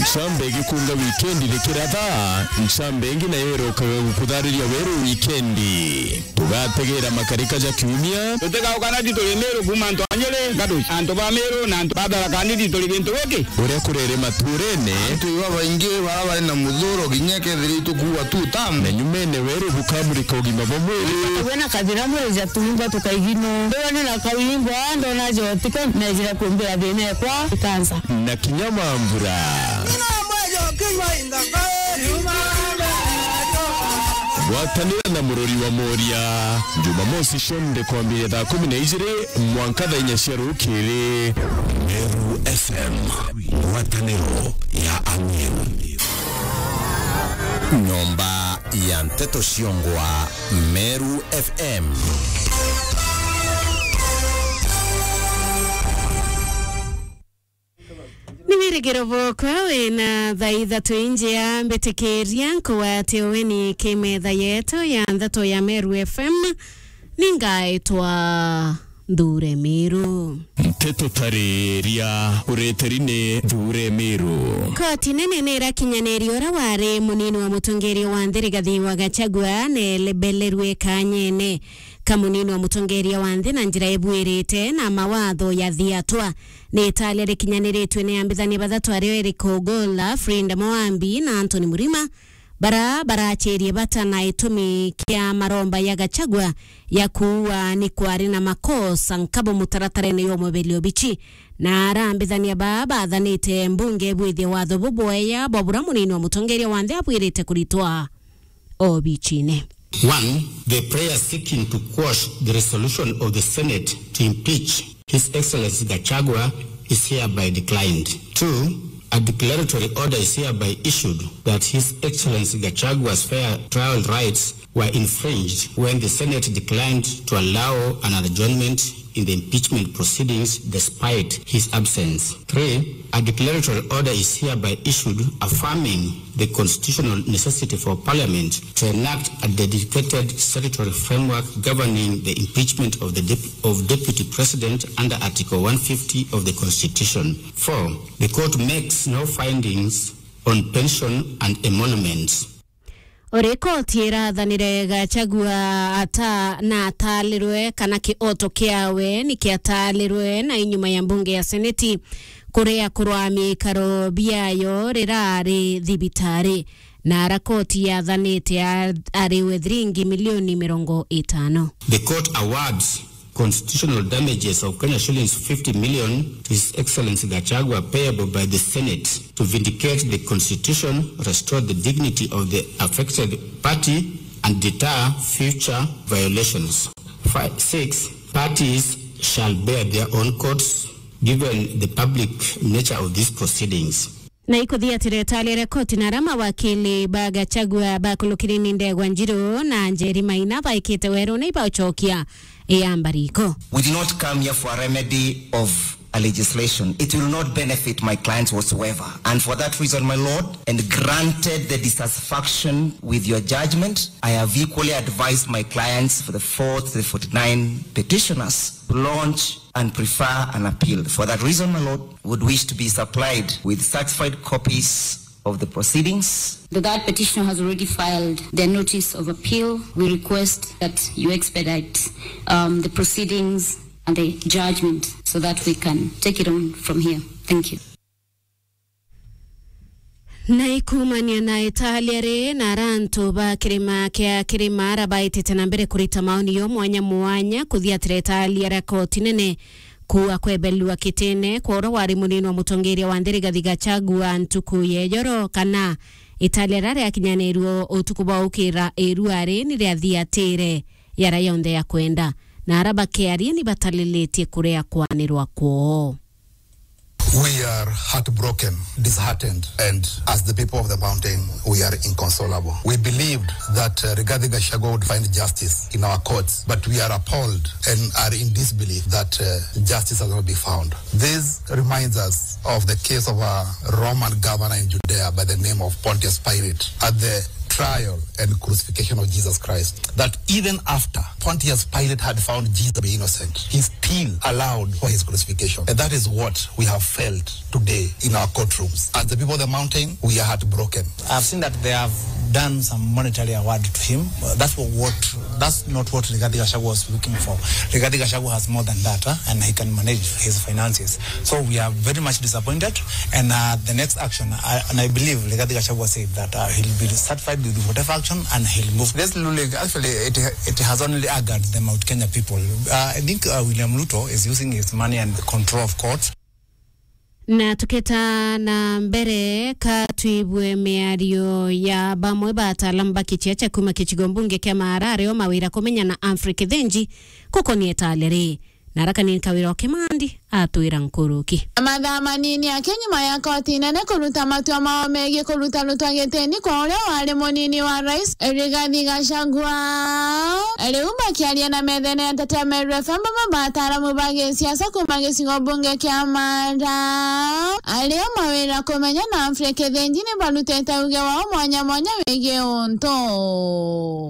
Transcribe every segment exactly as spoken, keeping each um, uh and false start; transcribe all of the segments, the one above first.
Ncamba igikunga wikendi rikiratha, ncamba ingi nayo irokaga gukuthariria weru wikendi. Tugategera makarika ja kiumia. Tutigauka na tituri Meru kuuma antu a Nyeri, Gaduci, antu ba Meru na antu ba Tharaka Nithi turi gintu giki. Uria kurere maturene. Antu iba baingi bara bari na muthuro kinya kethira itukuua tu tamu. Na nyumene weru bukamurika ugima bwa mwiri. Wena kathira mwiri ja tuumba tukaigino. Ndona na kawimbo, ndona jotika, nejira kumbira thina ekwa ikansa. Na kinya mambura. Gwatanira na murori wa Moria, Jumamosi cionthe kwambiria thaa kumi na ijiri mwanka thaa inya cia rukiri. Meru F M, ngwataniro ya Amiru. Nyomba ya nteto ciongwa, Meru F M. Ni wirigiro bwokwa wina thaa ithatu injia, mbitikiria nkugwate uweni ki metha yetu ya nthato ya Meru F M. Ningaitwa Nthure Miru. Nteto tariria ureteri ni Nthure Miru. Koti nene ni irakinyaniria uria wari munini wa mutongeria wa nthi Rigathi wa Gachagua nebelerue kanyene ka munini wa mutongeria wa nthi na njira ibuirite na mawatho ya thiatwa. Ni italia rikinyaniritue ni ambithania bathatu ario Eric Ogolla, Fred Mwambi na Anthony Murima, bara barachirie bata na itumi kia maromba ya Gachagua ya kuua ni kwari na makosa nkabo mutaratarene ya umweberia obichi. Na arambithania baa bathanite mbunge bwithie watho bubwea bwa bura munini wa mutongeria wa nthi abwirite kuritwa obichine. One, the prayer seeking to quash the resolution of the Senate to impeach His Excellency Gachagua is hereby declined. Two, a declaratory order is hereby issued that His Excellency Gachagua's fair trial rights were infringed when the Senate declined to allow an adjournment in the impeachment proceedings despite his absence. Three, a declaratory order is hereby issued affirming the constitutional necessity for Parliament to enact a dedicated statutory framework governing the impeachment of the dep-, of Deputy President under Article one fifty of the Constitution. Four, the court makes no findings on pension and emoluments. Uri koti irathanire Gachagua ata na atalirwe kana kioto kiawe ni kiatalirwe na inyuma ya mbunge ya seneti kuria kurwa miikaro biayo rirari thibitari, na ara koti yathanite a-, ariwe thiringi milioni mirongo itano. The court awards constitutional damages of Kenya shillings fifty million to His Excellency Gachagua payable by the Senate to vindicate the constitution, restore the dignity of the affected party, and deter future violations. Five, six, parties shall bear their own costs given the public nature of these proceedings. Na ikuthiatira italia ria koti na ara mawakili ba Gachagua bakulukiri ni Ndegwa Njiru na Njeri Maina baikite weru ni ibaucokia iamba riko. We did not come here for a remedy of a legislation. It will not benefit my clients whatsoever. And for that reason, my lord, and granted the dissatisfaction with your judgment, I have equally advised my clients for the fourth, the forty-nine petitioners to launch and prefer an appeal. For that reason, my lord, would wish to be supplied with certified copies of the proceedings. The third petitioner has already filed their notice of appeal. We request that you expedite, um, the proceedings and the judgment so that we can take it on from here. Thank you. Na ikumania na italia ri na ara antu ba kirima kia kirima ara baitite na mbere kurita maoni yo mwanya mwanya kuthiatira italia ria koti nene kuua kwebelua kitine kwa uria wari munini wa mutongeria wa nthi Rigathi Gachagua ntuku ya ijoro, kana italia riria riakinyanirue utuku bwa ukira iruari ni riathiatire yara yonthe ya kwenda, na ara bakiaria ni batalilitie kuria kwanirwa kwoo. We are heartbroken, disheartened, and as the people of the mountain, we are inconsolable. We believed that, uh, Rigathi Gachagua would find justice in our courts, but we are appalled and are in disbelief that, uh, justice has not been found. This reminds us of the case of a Roman governor in Judea by the name of Pontius Pilate. At the trial and crucifixion of Jesus Christ, that even after Pontius Pilate had found Jesus to be innocent, he still allowed for his crucifixion. And that is what we have felt today in our courtrooms. As the people of the mountain, we are heartbroken. I've seen that they have done some monetary award to him. Uh, that's what, what, that's not what Rigathi Gachagua was looking for. Rigathi Gachagua has more than that, huh? And he can manage his finances. So we are very much disappointed. And, uh, the next action, I, and I believe Rigathi Gachagua said that, uh, he'll be satisfied with whatever action and he'll move. This ruling, actually, it, it has only angered the Mount Kenya people. Uh, I think, uh, William Ruto is using his money and the control of courts. Na tuketa na mbere, ka twibue miario ya bamwe ba ataalamu ba kichia cha kuma kicigo mbunge kia Maara ario mawira kumenya na Humphrey Kithinji gukonie itale ri. Na arakani kawira o Kimandi atwira nkuruki. Mathaa manini ake nyuma ya koti nene kuruta matua mao megie kuruta rutwa gitini kwa uria wari munini wa rais, Rigathi Gachagua. Riu bakiaria na methene ya Ntetea Meru F M, bamwe ba ataaramu ba gisiasa kuma gicigo mbunge kia Maara ario mawira kumenya na Humphrey Kithinji ni barutite uge wao mwanya mwanya wigie untu.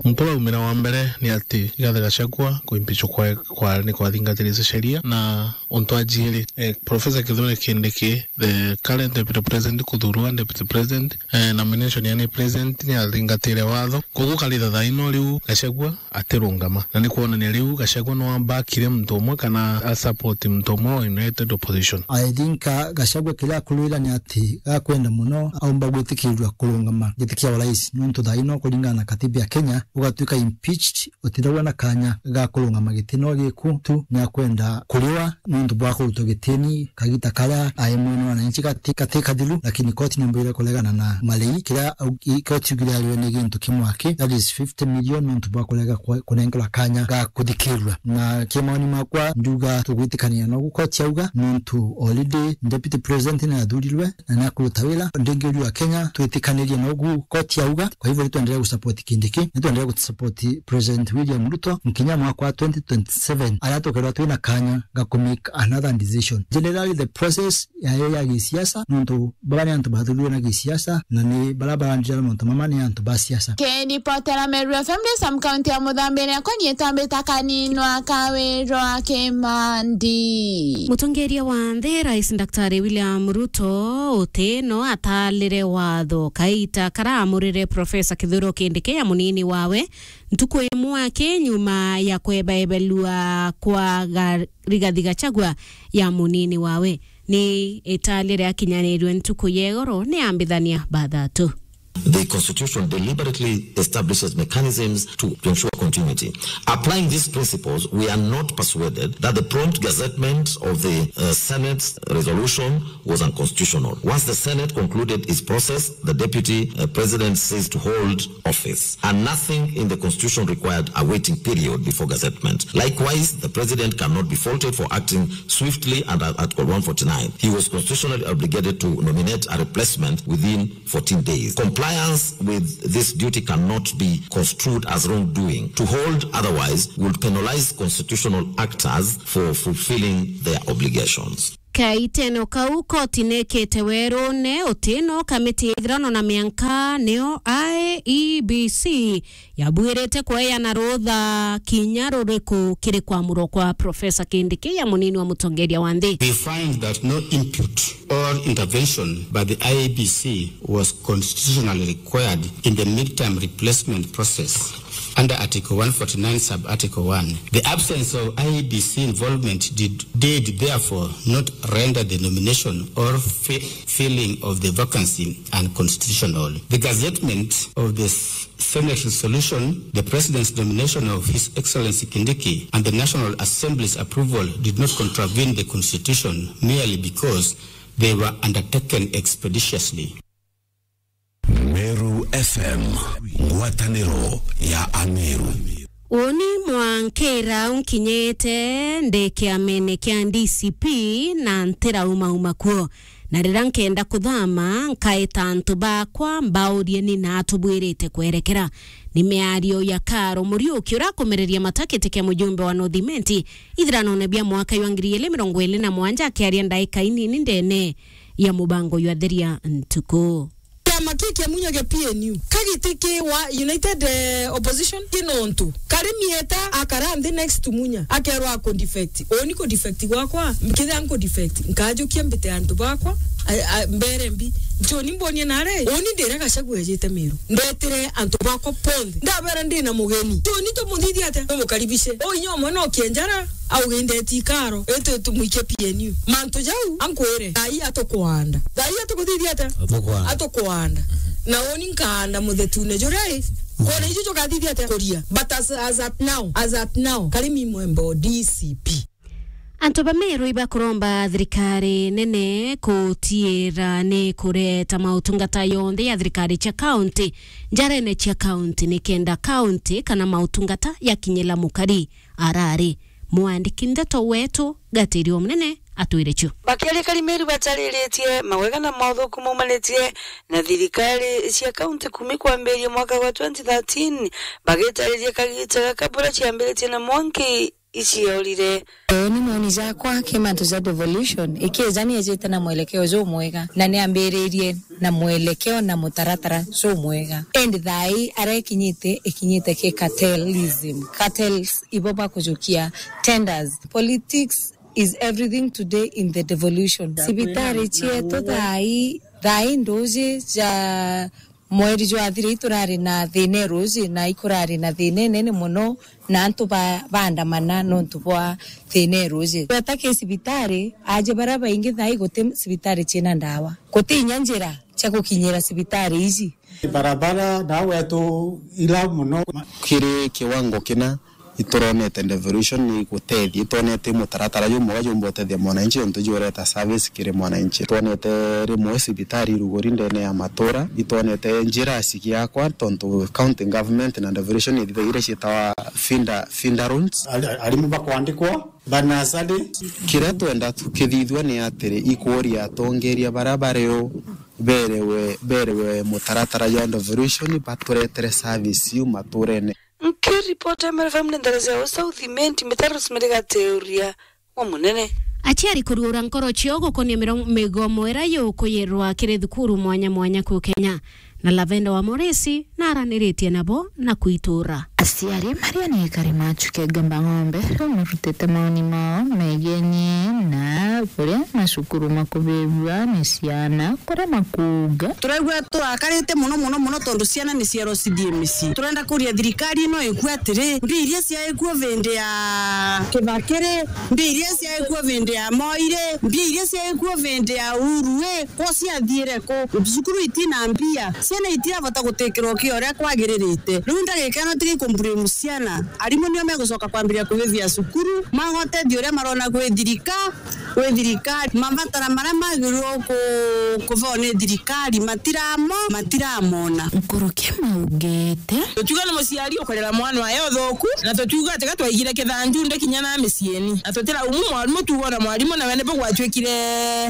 Muntu uraumira wa mbere ni ati Rigathi Gachagua kuimpishwa kwa, kwa, ni kwathingatiritie sheria, na untu wa jiiri, eh, Professor Kithure Kindiki, the current deputy president, kuthurwa deputy president, eh, nomination ya ni president ni athingatire watho. Koguo karitha thaa ino riu Gachagua atirungama. Na ni kwonania riu Gachagua no abakire muntu umwe kana a support muntu umwe wa United Opposition. I think, uh, Gachagua kiria akurwira ni ati gakwenda muno aumba gwitikirirwa kurungama giti kia urais, nontu thaa ino kuringana na katiba ya Kenya, ugatuika impeached, utithagwa na kanya ga kurungama gitini o giku tu, ni akwenda kuriwa nontu bwa kurutwa gitini kagita karia ai mwene wananchi gati, gati kathiru, lakini koti ni mbwire kuregana na marei. Kiria au-, i-, koti yugire ariwe ni gintu kimwe aki, that is fifty million, nontu bwa kurega kwa-, kunengerwa kanya ga kuthikirwa. Na kimaoni makwa, nduga tugwitikania nogu koti yauga, nontu already deputy president ni athurirwe na ni akuruta wira. Ndingi uriu wa Kenya, twitikanirie nogu koti yauga. Kwa hivyo, nitwendelee gusupport Kindiki, nitwendelee gusupport President William Ruto nkinya mwaka wa twenty twenty-seven, aria tukeethirwa twina kanya ga ku make another decision. Generally, the process yayo ya gisiasa, nontu baba ni antu bathurirwe na gisiasa, na ni baria barandira mauntu mama ni antu ba siasa. Kiripotera Meru F M, ndi Sam County ya Muthambi, ni akwa ni itambita kaninwa kawirwa Kimandi. Mutongeria wa nthi, Rais Daktari William Ruto, uti no atalire watho kaita karaamurire Professor Kithure Kindiki ya munini wawe, ntuku imwe aki nyuma ya kwebaebelua kwa ga-, Rigathi Gachagua ya munini wawe. Ni italire akinyanirwe ntuku ya igoro ni ambithania bathatu. The Constitution deliberately establishes mechanisms to, to ensure continuity. Applying these principles, we are not persuaded that the prompt gazettement of the, uh, Senate's resolution was unconstitutional. Once the Senate concluded its process, the deputy, uh, president ceased to hold office, and nothing in the Constitution required a waiting period before gazettement. Likewise, the president cannot be faulted for acting swiftly under Article one forty-nine. He was constitutionally obligated to nominate a replacement within fourteen days. Compliance with this duty cannot be construed as wrongdoing. To hold otherwise would penalize constitutional actors for fulfilling their obligations. Kaiteno kau, koti nekite werune uti no kamiti ya ithurano na mianka, niyo I E B C, yabuirite kweana rutha kinya ruriku kiri kwamurwa kwa Professor Kindiki ya munini wa mutongeria wa nthi. We find that no input or intervention by the I E B C was constitutionally required in the midterm replacement process under Article one forty-nine, sub-article one. The absence of I E B C involvement did, did therefore not render the nomination or fi-, filling of the vacancy unconstitutional. The gazettement of the Senate resolution, the President's nomination of His Excellency Kindiki, and the National Assembly's approval did not contravene the Constitution merely because they were undertaken expeditiously. Meru F M, ngwataniro ya Ameru. Uni mwankira unkinyite ndi kiamene kia D C P na ntirauma uma kuo. Na riria nkenda kuthama, nkaita antu bakwa, mbaurie ni na atubwirite kwerekera. Ni miario ya Karo Muriuki, urakumereria matakiti kia mujumbe wa North Imenti ithiranone bia mwaka jwa ngiri igiri mirongo iri na mugwanja, akiaria ndaika inini ndene ya mubango jwa Theria Ntuku. Maki kia Munya kia P N U. Kagiti ki wa United, eh, Opposition, ki nontu. Karimi eta akara nthi next to Munya. Akerwa ako defect. Uni ku defect gwakwa, kithia nku defect. Nkajukia mbite antu bakwa, a, a, mbere mbi. Njoni mbonie nare. Uni ndire Gachagua ejite Meru. Ndetire antu bakwa bonthe. Ndabera ndi na mugeni. Njoni tumuthithie atia? Tumukaribishe. O inya omwe no kienjara. Au gindeti ikaro, itu tumwikie P N U. Mantu jau, ankwire, thaa ii atukwanda. Thaa ii atukuthithia atia? Atukwanda. Atukwanda. Na uni nkaanda muthetune juria i. Kwona icio jukathithia atia? Kuria. But as, as at now, as at now, Karimi Mwembo, D C P. Antu ba Meru ibakuromba thirikari nene kutiira ni kureta mautungata yonthe ya thirikari cia kaunti njarene cia kaunti, nikenda kaunti kana mautungata yakinyila mukari. Arari mwandiki ndeto wetu Gatirio Munene atwire cio. Bakiaria Karimeru batariritie mawega na mauthuku maumanitie na thirikari cia kaunti kumi kwambiria mwaka wa twenty thirteen, bagitariria kagita gaka bura ciambiritie na mwanki iciorire. Uu ni moni jakwa ki mantu ja devolution, ikija ni ejite na mwelekeo jumwega, na ni ambiririe na mwelekeo na mutaratara jumwega. Indi thaa ii aria ikinyite, ikinyite ki cartelism. Cartels ibo bakujukia tenders. Politics is everything today in the devolution. Cibitari cietu thaa ii, thaa ii nduji ja mweri jwathira iturari na thina iruji, na ikurari na thina inene mono, na antu ba-, baandamana nontu bwa thina iruji. Tweta ki cibitari, aja baria baingi thaa ii guti cibitari ciina ndawa. Guti inya njira cia gukinyira cibitari iji. Barabara na wetu ila mono. Kiri kiwango kina ituronete devolution ni gutethia, itwonete mutaratara jumwega jumba utethia mwananchi, ontu jureta service kiri mwananchi. Twonete rimwe cibitari iruguri ndene ya matura, itwonete njira cigiakwa, tontu county government na devolution ithithagia iria cietawa feeder, feeder roads. Ari-, arimu bakwandikwa, banasari. Kiria twenda tukithithua ni atiri, ikuria atongeria baria bari o berewe, berewe mutaratara jwa devolution, baturetere service iu maturene. Nkiripota Emere F M ni ndara cia South Imenti, Mitaro Rosemary Gateuria wa Munene. Aciari kuruura nkoro ciao gukonia miro-, migomo iria yukuyirwa kiri thukuru mwanya mwanya ku Kenya, na Lavenda wa Moresi naraniritie nabo na kuitura. Aciari maria ni ekari ma Chuke Gamba Ng'ombe riu marutite maoni mao megienie na buria macukuru makubirua ni ciana kuria makuuga. Turaigua turakarite mono, mono, mono, tondu ciana ni cierocidie micii. Turenda kuria thirikari ino ikue atiri, mbia iria ciaikuo vindi ya Kibakiri, mbia iria ciaikuo vindi ya Moi ri, mbia iria ciaikuo vindi ya Uhuru ri, ko ciathiire ku? Cukuru itina mbia, ciana itirabota gutikirwa kio uria kwagiririte. Riu ndagika ino tigi kumburimu ciana, arimu nio megucoka kwambiria kuthithia cukuru, maga utethio uria marona kwi thirika-, kwi thirikari. Mabatara maria magirwo ku-, kubao ni thirikari matiramo-, matiramona. Nkuruki maugite. Tukiuga ni muciari ukurera mwana wae uthuku, na tutiuga ati ga twaigire kithanju ndi kinya na miciini. Na tutiraumu mwarimu, tuuga ona mwarimu nawe nibo gwatuikire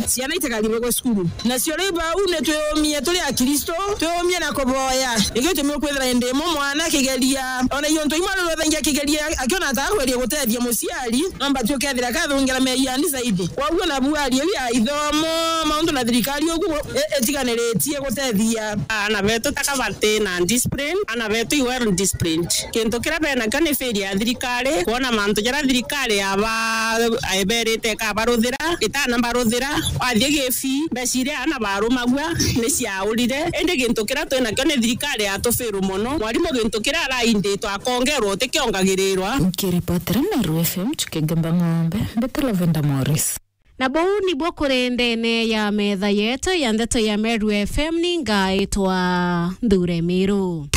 ciana itikaribagwe cukuru. Nacio riu bau ni twiyumie turi Akristo, twiyumie na kuboya. Nikio gitumi ukwithira indi imwe mwana akigeria, ona iontu imwe arirwe thaingi akigeria, akiona ata akweria gutethia muciari, no mbati ukethira kathungira meeyani zaidi. Kwou ona buari iu ya ithomo, mauntu na thirikari ugu i-, itiganiritie gutethia. Aana betu taka bati na discipline, aana betu i well disciplined. Kintu kiria benakio ni failure ya thirikari, kwona mantu jaria thirikari yaba-, eberite ikabaruthira, itana baruthira. Wathie gifi, mbeca iria aana barumagua ni ciaurire. Indi gintu kiria twinakio ni thirikari yatufiru mono. Mwarimu gintu kiria arainditwe akongerwa utikiongagirirwa. Nkiripotera Meru F M, Chuke Gamba Ng'ombe, mbite Lavenda Morris. Na buu nibwo kuri ndene ya metha yetu ya ndeto ya Meru F M, ni ngaitwa Nthure Miru.